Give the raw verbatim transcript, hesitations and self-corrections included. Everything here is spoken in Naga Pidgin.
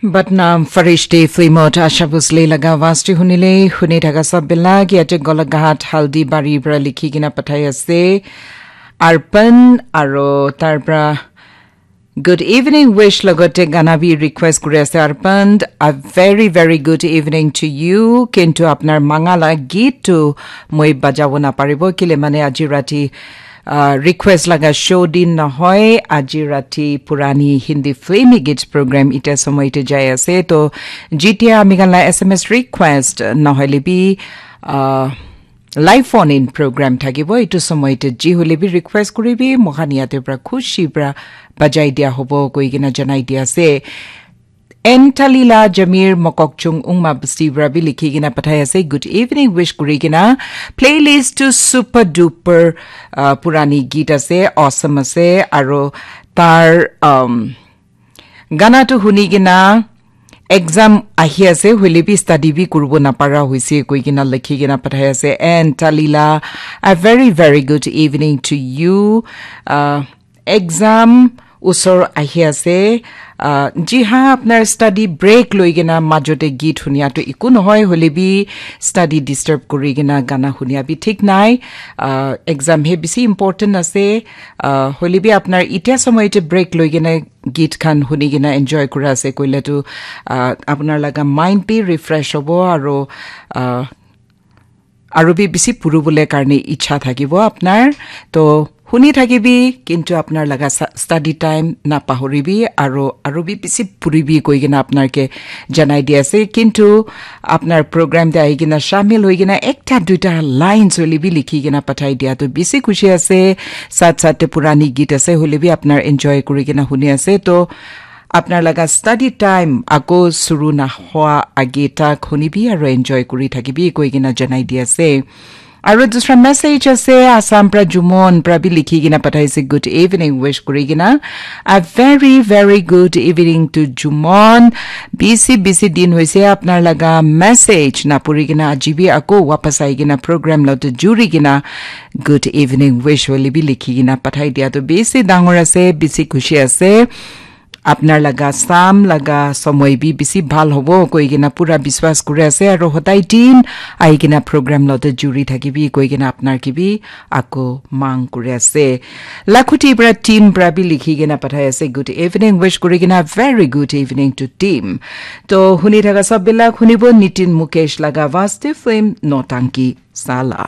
Batnam Farishte Flimot Asha Bhosle laga awaaz te hunile, huni thaka sab bila ki ate Golaghat Haldi Bari pra likhi kena pathai ase. Arpan aro tar pra good evening wish logote gana bi request kuri ase. Arpan, a very, very good evening to you. Kintu apnar manga la geet tu moi bajabo na paribo, kile mane aji rati, ah, request laga show din nohoi, aji rati purani Hindi filmi geet program ite somoy te jai ase. To jitia ami khan la S M S request nohoile bi, ah, live phone in program thakibo, itu somoy te ji hole bi request kuribi, mohan yate pra khushi pra bajai dia hobo koi kena janai dia ase. N Talila Jamir Mokokchung Ungma Basti pra bi likhi kena pathai ase. Good evening wish kuri kena. Playlist to super duper, uh, purani geet ase, awesome ase, aro tar, um, gana tu huni kena exam ahi ase, hoile bi study bi kuribo napara hoise koi kena likhi kena pathai ase. And Talila, a very, very good evening to you. Uh, exam usor ahi ase. Uh, ji ha, apnar study break loi kena majote geet hunia to iku nohoi, hoile bi study disturb kuri kena gana hunia bi thik nai. Uh, exam he bisi important ase. Uh, hoile bi apnar itia somoy te break loi kena geet khan huni kena enjoy kura ase koile tu, uh, apnar laga mind bi refresh hobo aro, uh, aro bi bisi puribole karne ichha thakibo apnar. To huni thakibi, kintu apnar laga sa-, study time na pahoribi, aro, aro bi bisi puribi koi kena apnar ke janai di ase. Kintu apnar program te ahi kena shamil hoi kena ekta duita lines hole bi likhi kena pathai dia to bisi khushi ase. Sat sat te purani geet ase, hole bi apnar enjoy kuri kena huni ase. To apnar laga study time ako suru na hoa age tak hunibi aro enjoy kuri thakibi koi kena janai di ase. Aro dusra message ase, Assam pra Jumon pra bi likhi kena pathaise, good evening wish kuri kena. A very, very good evening to Jumon. Bisi, bisi din hoise apnar laga message na puri kena aji bi ako wapas ai kena program lo to juri kena good evening wish hole bi likhi kena pathai dia to bisi dangor ase, bisi khushi ase. Apnar laga sam laga somoy bi bisi bhal hobo koi kena pura biswas kuri ase, aro hodai din ahi kena program lote juri thakibi koi kena apnar ke bi ako mang kuri ase. Lakhuti pra team pra bi likhi kena pathai ase, good evening wish kuri kena, very good evening to team. To huni thaka sab bilak hunibo Nitin Mukesh laga Vaste Film Notanki Sala.